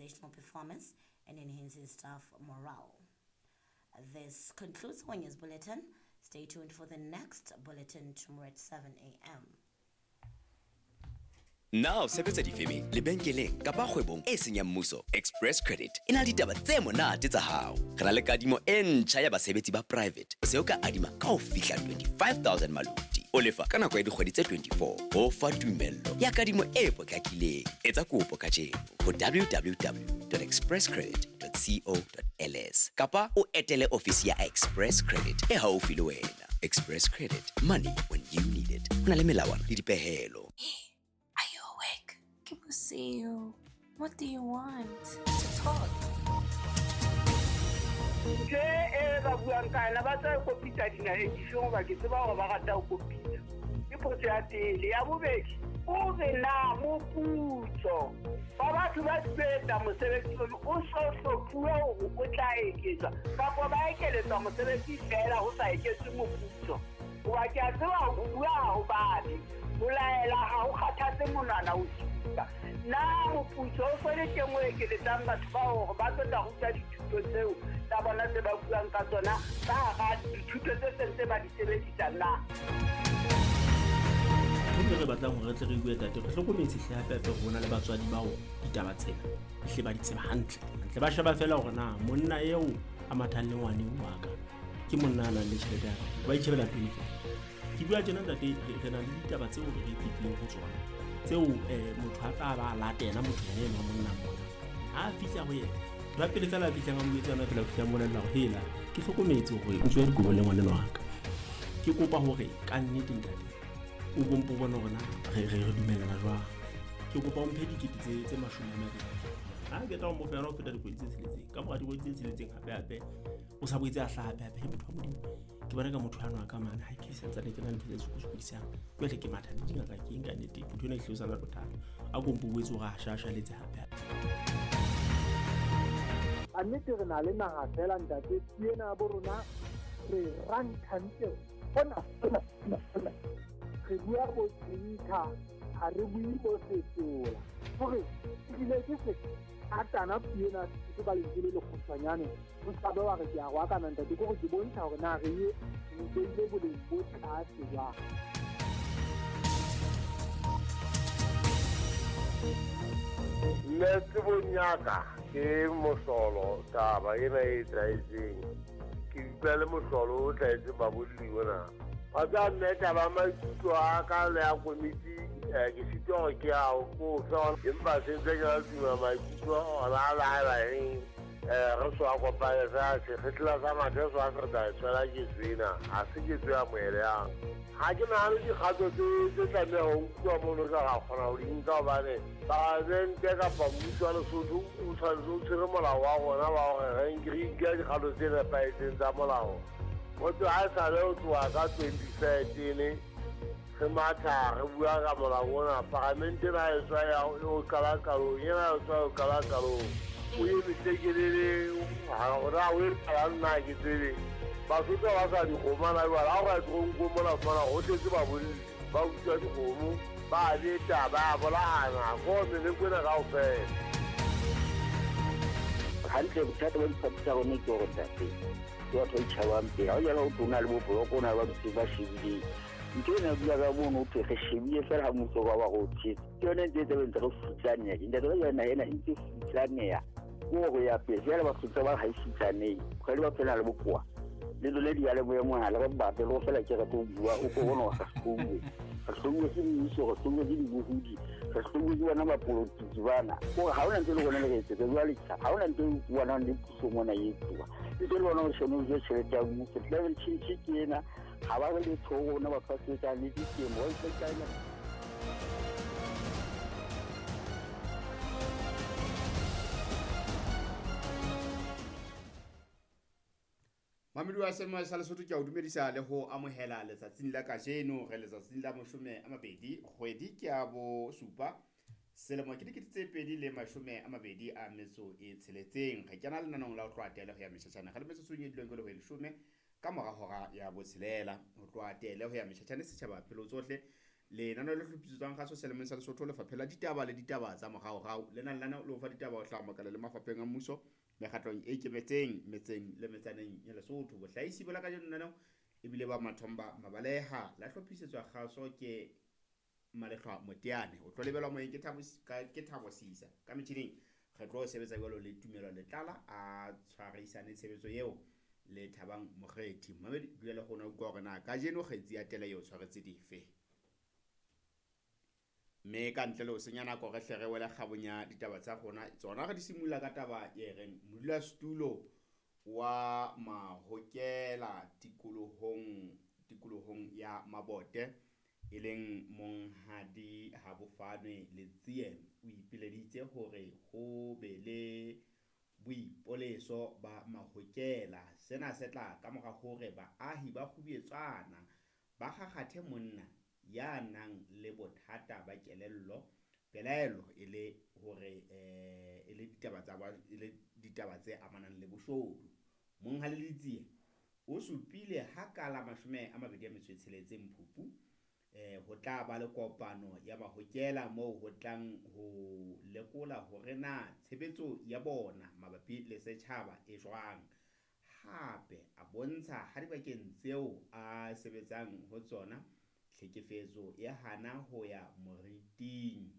organizational performance and enhancing staff morale. This concludes our news bulletin. Stay tuned for the next bulletin tomorrow at 7 a.m. Na o sebetsa difemeng, lebenkeleng kapa kgwebong e seng ya mmuso? Express Credit e na le ditaba tse monate tsa hao. Re na le kadimo e ntjha ya basebetsi ba private. O se o ka adima ka ho fihla 25,000 maluti. O lefa ka nako ya dikgwedi tse 24. Ho fa tumello ya kadimo e potlakileng. Etsa kopo kajeno ho www.expresscredit.co.ls kapa o etele ofisi ya Express Credit e haufi le wena. Express Credit, money when you need it. Ho na le melawana le dipehelo. Are you awake? Ke bosiu. What do you want? To talk. Ntho e ba buang ka yona ba tla kopitsa dinaheng difeng hoba ke tseba hore ba rata ho kopitsa. Ke potso ya pele. Ya bobedi, o re na moputso wa batho ba sebetsa mosebetsi ono o so hlophuwe hore o tla eketswa kapa ba ekeletswa mosebetsi feela ho sa eketswe moputso. Hoba ke a tseba ho bua ha ho babe, ho laela ha ho kgathatse monwana o supa. Na moputso o so le teng o ekeletsang batho bao hore ba tlo tla ruta dithuto tseo tsa bona tse ba buang ka tsona ka hara dithuto tse seng tse ba di sebedisa na? Ntho e re batlang hore re tle re bue tate, re hlokometse hle hape hape hore ho na le batswadi bao ditaba tsena hle ba di tseba hantle. Hantle ba sheba feela hore na monna eo a mathang le ngwane wa ka ke monna a nang le tjhelete ya kae, ba itjhebela pele feela. Ke bua tjena ntate, re na le ditaba tseo re fetileng ho tsona tseo motho a tla ba latela motho yena enwa monna mona. Ha a fihla ho yena, ba pele feela a fihlang a mo jwetsa yona feela, o fihla a mmolella hore hela ke hlokometse hore o tswe dikobo le ngwaneno wa ka. Ke kopa hore ka nnete ntate o bompo bone hore na re dumellana jwang. Ke kopa o mphe dikete tse 20. Ha ke tla o mo fa yona ho feta dikgwedi tse tsheletseng. Ka mora dikgwedi tse tsheletseng hape hape o sa boetse a hlaha hape hape. He motho wa Modimo, ke bona ka motho ano a ka mane ha ke santsane ke na le ntho tse sokodisang. Jwale ke matha le dingaka ke eng ka nnete, ntho ena e hlile o sa na le bothata. A ko mpo boetse hore a shashaletse hape hape. A nnete re na le naha feela ntate, ke ena ya bo rona re ranthantle hona hona hona hona. Re bua bo Twitter, ha re bue bo Setola. Hore ebile ke se atana puo ena ke ka lentswe le lekgutshwanyane, o ska be wa re ke a roakana ntate, ke hore ke bontsha hore na re ye re beile boleng bo tlase jwang. Nna tsebong ya ka ke mohlolo taba ena e etsahetseng. Ke utlwa le mohlolo o tlwaetseng babolli ona. Wa tseba mme taba ya maikutlo a ka le ya komiti, ke sitwa hore ke a o fe, empa se ntse ke la tuma maikutlo ona a laela eng, re so a kopane fela sekgetla sa mathe so a se re tla e tshwela ketso ena, ha se ketso ya moeleyang. Ha ke nahane dikgato tse tlameha ho nkuwa mono ka ra kgona ho di nka hobane palamente kapa mmuso wa Lesotho o tshwanetse o tshwere molao wa rona wa hore re nke dikgato tse nepahetseng tsa molao. Motho ha e sale ho tloha ka 2013 re matha re bua ka molao ona, palamente ena e tswa ya ho qala qalong, ena e tswa ho qala qalong. O emise kelele, ha hore o e qala nna ha ke tsebe. Basotho ba sa dikgomo na jwale, ha o ka toronkong mona o fumana ho tletse babolli, ba utswa dikgomo, ba beta, ba bolayana, ko meleko ena kaofela. Hantle bothata ba diphathi tsa rona ke hore ntate, ke batho ba itjhabang pele. Ha o jala ho tlo na le bo-block, o na le ba dutseng ba shebileng. Ntho ena bua ka mono ho thwe re shebile feela ha mmuso wa ba re o tshetse. Ke yone e ntse e tlabe ntse re futsaneha. Ntate ba jwana ena e ntse futsaneha. Ke hore ya pele, jwale Basotho ba ha e futsanehe. Kgwedi ba phela le bokowa. Le lole diyalemoya mohala, re batle le ho fela ke re tlo bua, o ko bone hore re hlouwe. Re hlouwe ke mmuso, re hlouwe ke dibohodi, re hlouwe ke bona bapolotiki bana. Hore ha hona ntho e le rona le re etsetsa jwale, ha hona ntho e bonang le puso mona e etsuwa. Ntho e le bona hore sheno je tjhelete ya mmuso, climate change ke ena, ha ba re letho ho rona batho ba sebetsang le ditemo, ba ipakanya. Mamedi wa Senoa sa Lesotho, ke a o dumedisa le ho amohela letsatsing la kajeno. Re letsatsing la 20 kgwedi ke ya bosupa selemo ke 2026. Re kena lenanong la ho tloha tele ho ya meshashane. Re le metsotsong e dileng ke le ho e 10 ka mora hora ya botshelela. Ho tloha tele ho ya meshashane setjhaba pelo tsohle. Lenaneo le hlophisetswang kgaso selemong sa Lesotho, Lefapha la Ditaba le Ditaba tsa Moraorao. Le nang lenaneo le ho fa ditaba ho hlaha makala le mafapheng a mmuso, mekgatlong e ikemetseng, metseng le metsaneng ya Lesotho. Bohlahisi bo la kajeno lenaneo ebile ba Mathomba Mabaleha. La hlophisetswa kgaso ke Malehlwa Moteane. O tlo lebelwa moyeng ke Thabo ke Thabo Sisa. Ka metjhining re tlo sebetsa jwalo le Tumelo Letlala a tshwarisane tshebetso eo le Thabang Mokgethi. Mamedi, dula le rona utlwa hore na kajeno kgetsi ya tele eo tshwaretse dife. Mme ka ntle le ho senya nako re hle re wele kgabong ya ditaba tsa rona. Tsona re di simolola ka taba e reng modulasetulo wa Mahokela tikolohong ya Mabote e leng Monghadi Habofanwe Letsie o ipileditse hore ho be le boipoleso ba Mahokela. Sena se tla ka mora hore baahi ba Kgubuetswana ba kgakgathe monna ya nang le bothata ba kelello, pelaelo e le hore e le ditaba tsa e le ditaba tse amanang le boshodu. Monghadi Letsie o supile ha ka la 26 Phupu ho tla ba le kopano ya Mahokela moo ho tlang ho lekola hore na tshebetso ya bona mabapi le setjhaba e jwang. Hape a bontsha ha dibakeng tseo a sebetsang ho tsona tlhekefetso e hana ho ya moriting,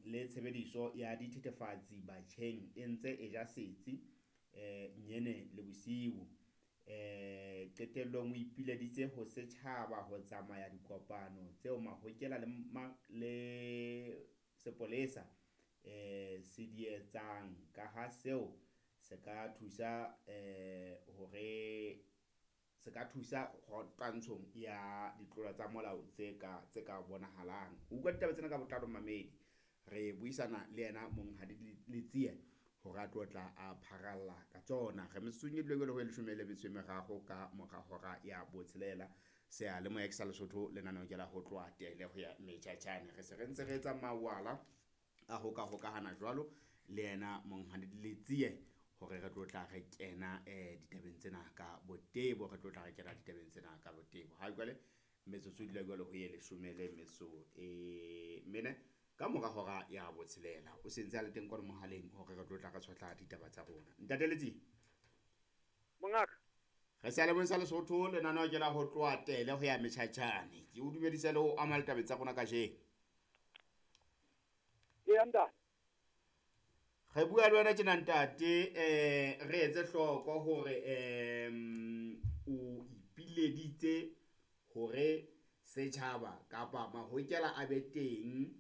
le tshebediso ya dithethefatsi batjheng e ntse e ja setsi nyene le bosiu. Qetellong o ipileditse ho setjhaba ho tsamaya dikopano tseo Mahokela le sepolesa se di etsang, ka ha seo se ka thusa hore se ka thusa twantshong ya ditlolo tsa molao tse ka bonahalang. O utlwa ditaba tsena ka botlalo mamedi, re buisana le yena Monghadi Letsie hore a tlo tla a pharalla ka tsona. Re metsotsong e dule ho 13 ka mora hora ya 6. Seyalemoya ke sa Lesotho, lenaneo ke la ho tloha tele ho ya metjhatjhane. Re se re ntse re etsa mawala a ho ka hokahana jwalo le yena Monghadi Letsie hore re tlo tla re kena ditabeng tsena ka botebo, Ha jwale metsotso e dula jwalo ho ye 14 ka mora hora ya 6. O sentse a le teng kwano mohaleng hore re tlo tla re tshotla ditaba tsa rona. Ntate Letsie. Mongaka. Re seyalemoyeng sa Lesotho, lenaneo ke la ho tloha tele ho ya metjhatjhane. Ke o dumedisa le ho ama ditabeng tsa rona kajeno. Eya ntate. Re bua le wena tjena ntate, re etse hloko hore o ipileditse hore setjhaba kapa Mahokela a be teng,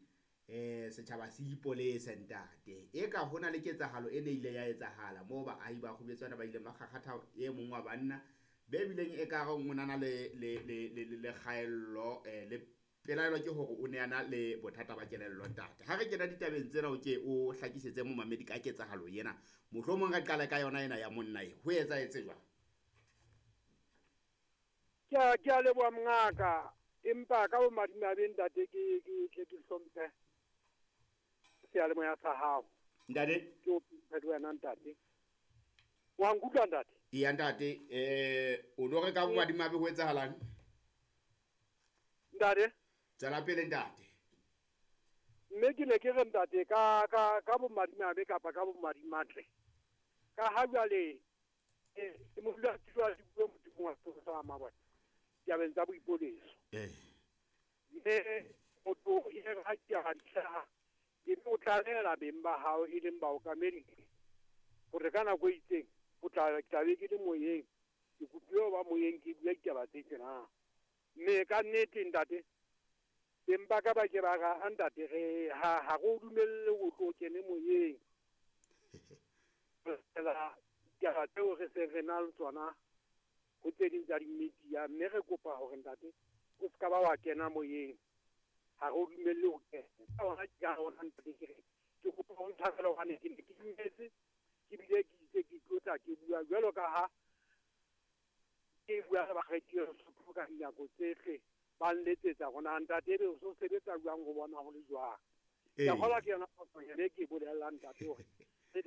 setjhaba se ipolese ntate. E ka hona le ketsahalo e ne ile ya etsahala moo baahi ba Kgubuetswana ba ileng ba kgakgatha e mong wa banna be bileng e ka re o nana le kgaello le pelaelo ke hore o ne a na le bothata ba kelello ntate. Ha re kena ditabeng tsena o ke o hlakisetse momamedi ka ketsahalo ena, mohlomong re qale ka yona ena ya monna e ho etsahetse jwang? Ke a leboha mongaka, empa ka bomadimabe ntate ke tle ke hlomphe seyalemoya sa hao. Ntate, ke o mphe le wena ntate. Wa nkutlwa ntate? Eya ntate, o no re ka bomadimabe ho etsahalang? Ntate, tswela pele ntate. Mme ke ne ke re ntate ka bomadimabe kapa ka bomadimatle, ka ha jwale ke modulasetulo wa dipuo modimong wa Setho sa Mabone ditabeng tsa boipoleso. Mme motho e re ha ke a dihlaha e be o tlalehela beng ba hao e leng baokamedi hore ka nako e itseng o tla be ke le moyeng, ke kopile ho ba moyeng ke bua ditaba tse tjena. Mme ka nnete ntate, beng ba ka ba ke ba ra ntate re ha re o dumelle o tlo kene moyeng. Fela ditaba tseo re se re na le tsona ho tse ding tsa di-media, mme re kopa hore ntate o ska ba wa kena moyeng, ha re o dumelle ho kena. Ka hona ke ka hona ntate ke re ke kopa ho ntshwarele hobane ke ne ke dumetse, ke bile ke itse ke tlotla ke bua jwalo ka ha ke bua le bakgethi Lesotho ka dinako tsohle, ba nletsetsa hore ntate ebe o so sebetsa jwang ho bona ho le jwang. Ke a kgolwa ke yona phoso ene ke bolellang ntate hore ke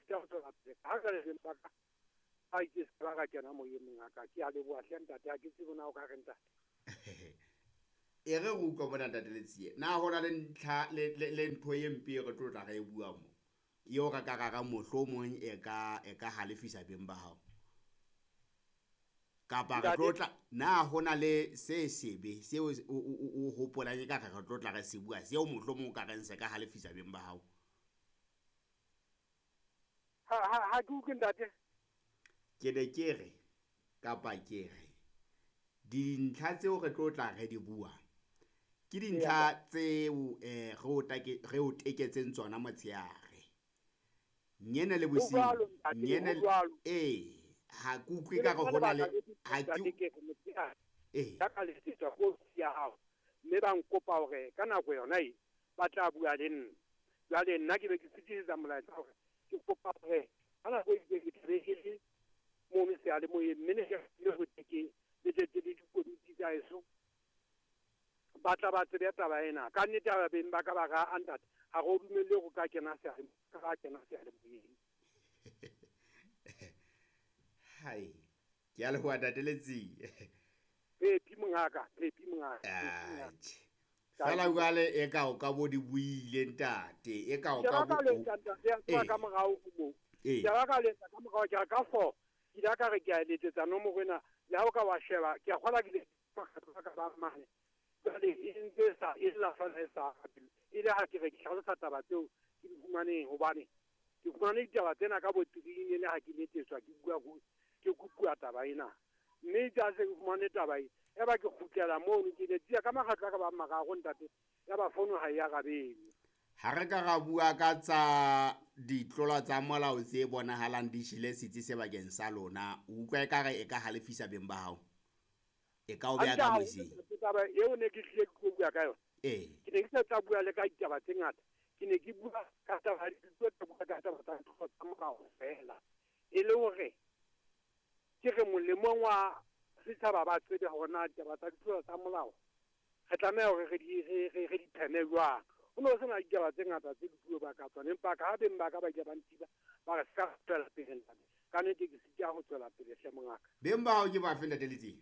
tla ho tswela pele. Ha jwale beng ba ka A itse se ka kena moyeng mongaka, ke a leboha hle ntate, ha ke tsebe na o ka re ntate. E re re utlwa mona ntate Letsie, na ho na le ntlha le ntho e mpe e re tlo tla re e bua mo eo re ka rara mohlomong e ka halefisa beng ba hao? Kapa re tlo tla na ho na le se sebe seo o hopolang e ka re re tlo tla re se bua seo mohlomong o ka reng se ka halefisa beng ba hao? Ha ke utlwe ntate. Ke ne ke re kapa ke re dintlha tseo re tlo tla re di bua ke dintlha tseo re o teketseng tsona motshehare nyene le bosiu nyene ha ke utlwe ka re hona le ha ke ka letsetswa ko ya hao mme ba nkopa hore ka nako yona e ba tla bua le nna. Jwale nna ke be ke fetisetsa molaetsa hore ke kopa hore ka nako e ke tlabe ke le mono seyalemoyeng, mme ne ke le ho tekeng le tletse le dikomiti tsa heso, ba tla ba tsebe taba ena. Ka nnete ba beng ba ka ba ra ntate, ha re o dumelle ho ka kena seyalemoyeng. Hai, ke a leboha ntate Letsie. Phepi mongaka, phepi mongaka. Fela jwale e ka o ka bo di buile ntate, e ka o ka bo ka morao mo. Ke ba ka letsa ka morao ke ka 4. Ke ile ka re ke a letsetsa nomoro ena, le ha o ka wa sheba, ke a kgola ke le ka ba mane. Jwale e ntse sa e la fela e sa e le ha ke re ke hlalosa taba tseo ke di fumaneng, hobane ke fumane ditaba tsena ka botiring le ha ke letsetswa ke bua ke kopuwa taba ena. Mme ja se ke fumane taba e, ya ba ke kgutlela mono ke letsia ka makgetlo a ka ba mararo ntate, ya ba fono ha e arabele. Ha re ka ra bua ka tsa ditlola tsa molao tse bonahalang di jele setsi sebakeng sa lona, o utlwa ekare e ka halefisa beng ba hao? E ka o beha ka mosing? Taba eo ne ke tlile ke bua ka yona. Ke ne ke sa tla bua le ka ditaba tse ngata. Ke ne ke bua ka taba tsa tsa molao fela. E le hore ke re molemong wa setjhaba ba tsebe hore na ditaba tsa ditlolo tsa molao re tlameha hore re di pheme jwang. Ho no sena ditaba tse ngata tse dipuo ba ka tsona, empa ka ha beng ba ka ba ile ba ntiba ba re ska tswela pele ntate. Ka nnete ke sitja ho tswela pele hle mongaka. Beng ba hao ke ba fe ntate Letsie?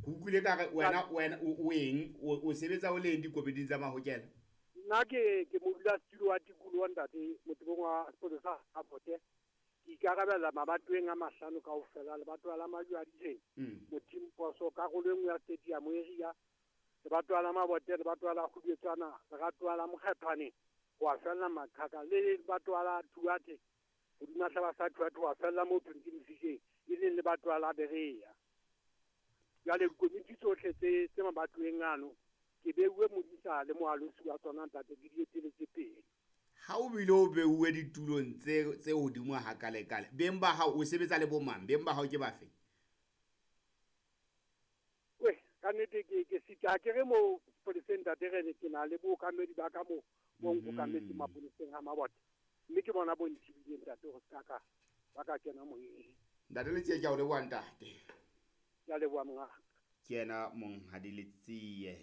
Ke utlwile ka re wena o eng o sebetsa o leng dikomiting tsa mahokela? Nna ke modulasetulo wa tikoloho ntate, motebong wa sepolesa sa Bote. Ke ikarabella mabatoweng a 5 kaofela, lebatowa la Majwaditleng, Motimposo, karolo e nngwe ya stadium area, lebatowa la Mabote, lebatowa la Kgubetswana, lebatowa la Mokgethwane, ho a fella Maqhaka, le lebatowa la Thuate, hodima hlaba sa Thuate ho a fella moo Printing, e leng lebatowa la Berea. Jwale dikomiti tsohle tse mabatoweng ano ke beuwe modisa le moalosi wa tsona ntate, ke di eteletse pele. Ha o bile o beuwe ditulong tse hodimo hakalekale, beng ba hao o sebetsa le bomang? Beng ba hao ke bafe? We, ka nnete ke sita ke re mo sepoleseng ntate, re ke na le bookamedi ba ka mo bo nkokametse mapoleseng a Mabote, mme ke bona bo nthibileng ntate ho ska ka ba ka kena moyeng. Ntate Letsie, ke a o leboha ntate. Ke a leboha mongaka. Ke yena monghadi Letsie.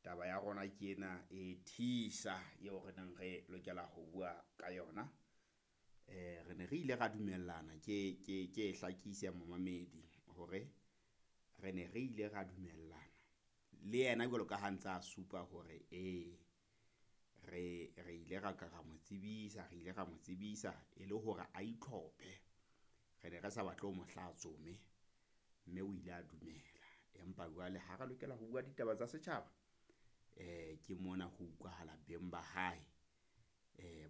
Taba ya rona ke ena e thisa eo re neng re lokela ho bua ka yona. Re ne re ile ra dumellana ke e hlakise momamedi hore re ne re ile ra dumellana le yena jwalo ka ha ntse a supa hore re ile ra ka ra mo tsebisa, re ile ra mo tsebisa e le hore a itlhophe. Re ne re sa batle ho mo hlatsome, mme o ile a dumela. Empa jwale ha re lokela ho bua ditaba tsa setjhaba, ke mona ho utlwahala beng ba hae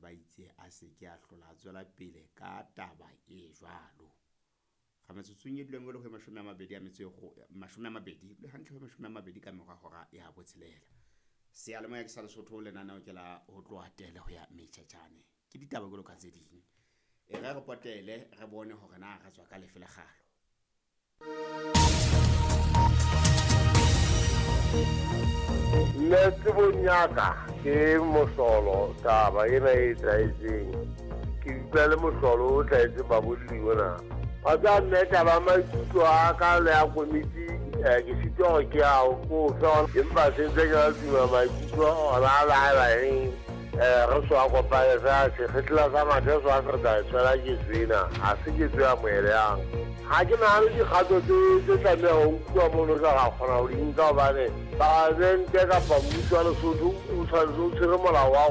ba itse a se ke a hlola a tswela pele ka taba e jwalo. Ga metsotsong e duleng e le ho 20 le hantle ho 20 ka mora hora ya 6. Seyalemoya ke sa Lesotho, lenaneo ke la ho tloha tele ho ya metjhetjhane. Ke ditaba jwalo ka tse ding. E re re potele re bone hore na re tswa ka lefe lekgalo. Nna tsebong ya ka ke mohlolo taba ena e etsahetseng. Ke utlwa le mohlolo o hlahetseng babolli ona. Wa tseba nna taba maikutlo a ka le ya komiti, ke sitwa hore ke ao ko fe, empa se ntse ke la tuma maikutlo ona a la eng. Re so a kopane fela sekgetla sa mathe so a se re tla e tshwela ketso ena ha se ketso ya moeleyang. Ha ke nahane dikgato tse tlameha ho nkuwa mono re ka kgona ho di nka hobane palamente kapa mmuso wa Lesotho o tshwanetse o tshwere molao wa.